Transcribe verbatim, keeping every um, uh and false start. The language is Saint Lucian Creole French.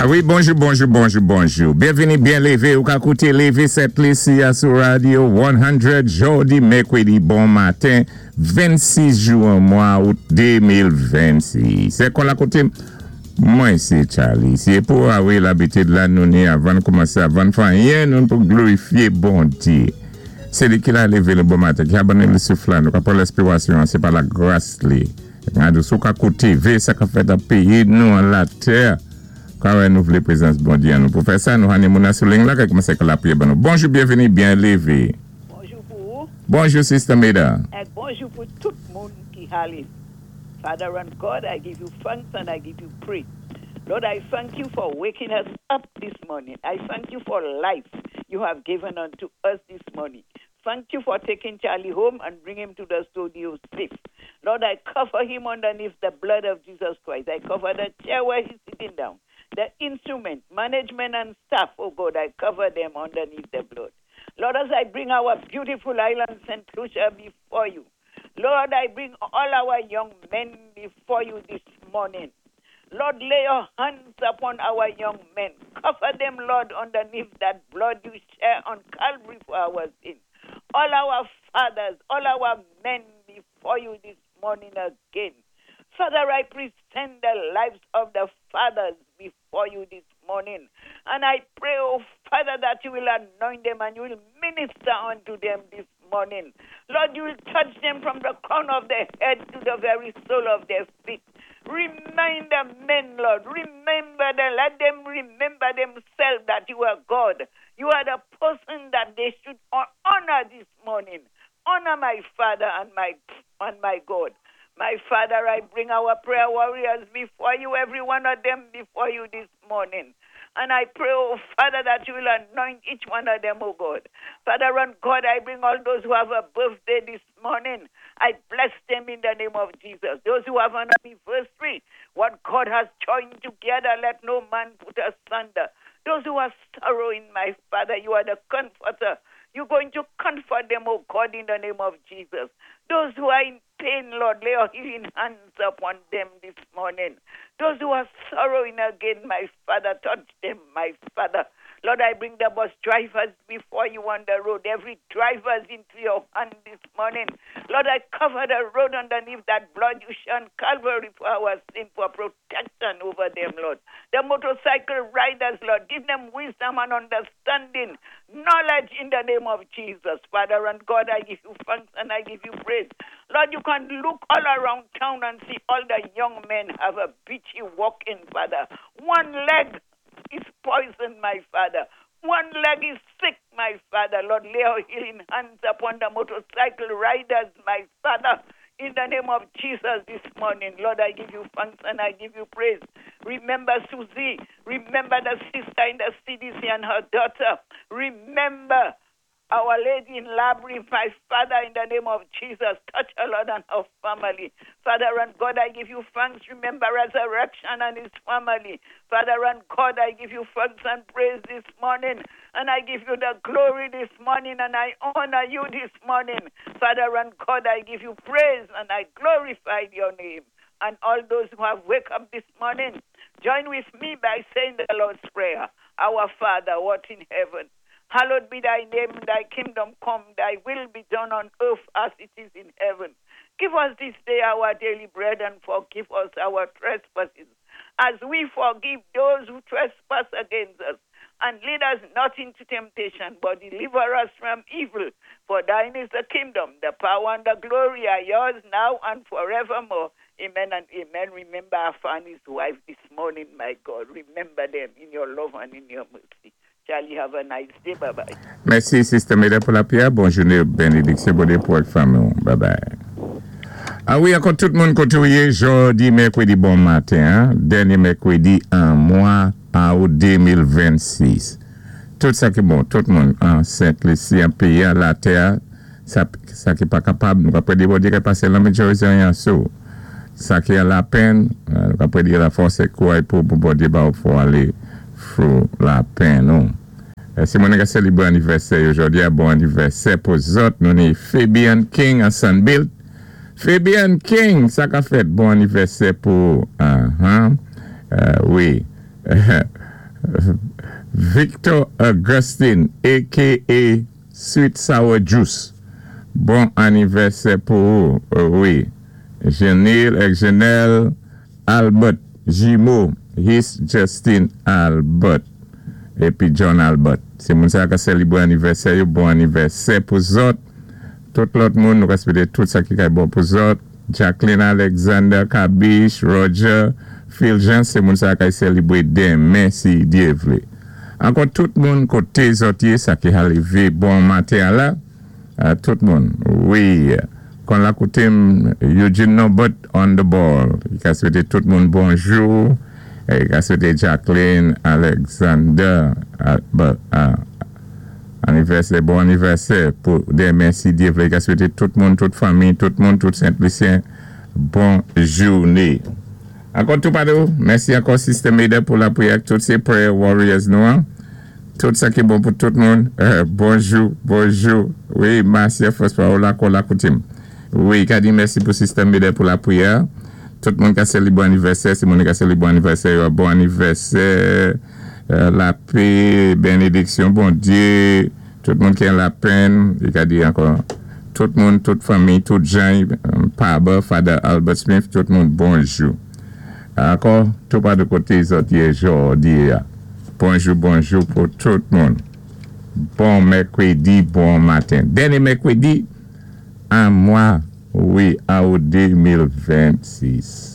Ah wi, bonjou, bonjou, bonjou, bonjou. Byenvini, byen lévé. Ou ka kouté Lévé Sent Lisi sou Radio san, jòdi mèkwédi bon maten, vennsis jwen mwa out de mil vennsis. Sé kon la koté, mwen sé Charlie. Sé pou ah wi, labitid la nou ni avan koumansé, avan fè anyen, nou pou glorifié Bondié. Sé li ki la lévé nou bon maten, ki a ban nou souf la, nou ka pran lespirasyon, sé pa lagras li. Sou ka kouté, vé sa ka fèt an péyi nou an latè. Kan nou vlé prézans Bondié nou. Pou fè sa, nou ni moun sou liy la ki koumansé lapriyè ban nou. Bonjou, byenvini, byen lévé. Bonjou pou ou. Bonjou, Sister Meda. É bonjou pou tout moun ki hali. Father and God, I give you thanks and I give you praise. Lord, I thank you for waking us up this morning. I thank you for life you have given unto us this morning. Thank you for taking Charlie home and bring him to the studio safe. Lord, I cover him underneath the blood of Jesus Christ. I cover the chair where he's sitting down, the instrument, management, and staff. Oh God, I cover them underneath the blood. Lord, as I bring our beautiful island, Saint Lucia, before you, Lord, I bring all our young men before you this morning. Lord, lay your hands upon our young men. Cover them, Lord, underneath that blood you shed on Calvary for our sin. All our fathers, all our men before you this morning again. Father, I present the lives of the fathers before you this morning. And I pray, oh Father, that you will anoint them and you will minister unto them this morning. Lord, you will touch them from the crown of their head to the very sole of their feet. Remind the men, Lord. Remember them. Let them remember themselves that you are God. You are the person that they should honor this morning. Honor my Father and my and my God. My Father, I bring our prayer warriors before you, every one of them before you this morning. And I pray, oh Father, that you will anoint each one of them, oh God. Father and God, I bring all those who have a birthday this morning. I bless them in the name of Jesus. Those who have an anniversary, what God has joined together, let no man put asunder. Those who are sorrowing, my Father, you are the comforter. You're going to comfort them, oh God, in the name of Jesus. Those who are in pain, Lord, lay your healing hands upon them this morning. Those who are sorrowing again, my Father, touch them, my Father. Lord, I bring the bus drivers before you on the road, every driver's into your hand this morning. Lord, I cover the road underneath that blood you shed on Calvary for our sin, for protection over them, Lord. The motorcycle riders, Lord, give them wisdom and understanding, knowledge in the name of Jesus. Father and God, I give you thanks and I give you praise. Lord, you can look all around town and see all the young men have a beachy walking, Father. One leg is poisoned, my Father. One leg is sick, my Father. Lord, lay your healing hands upon the motorcycle riders, my Father. In the name of Jesus this morning, Lord, I give you thanks and I give you praise. Remember Susie. Remember the sister in the C D C and her daughter. Remember Our Lady in Labrie, my Father, in the name of Jesus. Touch her, Lord, and her family. Father and God, I give you thanks. Remember Resurrection and his family. Father and God, I give you thanks and praise this morning. And I give you the glory this morning and I honor you this morning. Father and God, I give you praise and I glorify your name. And all those who have wake up this morning, join with me by saying the Lord's Prayer. Our Father, who art in heaven, hallowed be thy name, thy kingdom come, thy will be done on earth as it is in heaven. Give us this day our daily bread and forgive us our trespasses, as we forgive those who trespass against us. And lead us not into temptation, but deliver us from evil. For thine is the kingdom, the power, and the glory are yours now and forevermore. Amen and amen. Remember our and his wife this morning, my God. Remember them in your love and in your mercy. Charlie, have a nice day. Bye bye. Mèsi, Sister Meda, pou lapriyè. Bon jounen, benediksyon Bondye pou fanmi. Bye bye. Ah wi, ankò tout moun koté ou yé, jòdi mèkwédi bon maten, hein? Dènyé mèkwédi an mwa out de mil vennsis. Tout sa ki bon, tout moun an Sent Lisi, an péyi, an latè, sa, sa ki pa kapab, nou ka prédé Bondye ki pasé lanmen Jérusalem sou. Sa ki an lapenn, nou ka prédé lafòs é kouray pou pou Bondye ba ou pou alé through lapenn nou. Si moun ka sélébré anivèsè jòdi a, bon anivèsè pou zòt. Nou ni Fabian King an Sunbuilt. Fabian King, sa ka fèt bon anivèsè pou uh -huh. uh, wi. Victor Augustine, A K A. Sweet Sour Juice. Bon anivèsè pou ou, wi. Genil ek Genel Albert Jimo, His Justin Albert. Épi John Albert. Sé moun sa ka sélibwé anivèsè yo, bon anivèsè pou zòt. Tout lòt moun, nou ka swété tout sa ki kay bon pou zòt. Jacqueline Alexander, Kabish, Roger, Phil Jean, sé moun sa kay sélibwé denmen si Dye vlé. Ankò tout moun koté zòt yé, sa ki ka lévé bon maten la, tout moun. Wi, kon la koté Eugene Norbert on the ball. I ka swété tout moun bonjou. I ka swété Jacqueline Alexander, anivèsè, bon anivèsè pou denmen si Dye vlé. I ka swété tout moun, tout fanmi, tout moun, tout Saint-Lucien, bon jouné. Ankò tou padou, mèsi ankò Sister Maida pou lapriyè, tout sé prayer warriors nou an. Tout sa ki bon pou tout moun. Bonjou, bonjou. Wi, Marcia Fospa, ou la kon la koutim. Wi, ka di mèsi pou Sister Maida pou lapriyè. Tout moun ka sélibwé anivèsè, si moun ka sélibwé anivèsè, bon anivèsè, lapè, benediksyon, Bondye, tout moun ki an lapenn, i ka di ankò, tout moun, tout fanmi, tout jan, Paba, Father Albert Smith, tout moun, bonjou. Ankò, tou pa de koté zòt yé jòdi a. Bonjou, bonjou pou tout moun. Bon mèkwédi, bon maten. Dènyé mèkwédi, an mwa, wi, an de mil vennsis.